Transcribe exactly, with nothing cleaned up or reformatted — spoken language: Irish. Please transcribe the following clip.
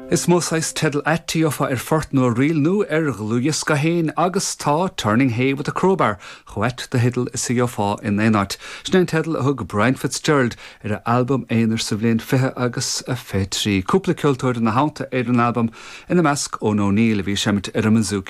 Is mó saghas teideal ait a gheofá ar phort nó ríl nó ar dhlúthdhiosca féin agus tá Turning Hay with a Crowbar chomh ait de theideal is a gheofá in aon áit. Sin an teideal a thug Brian Fitzgerald ar a albam aonair sa bhliain fiche agus a fiche trí. Cúpla ceoltóir ina theannta ar an albam ina measc Eoin O'Neill a bhí ag seinm ar an mbouzouki.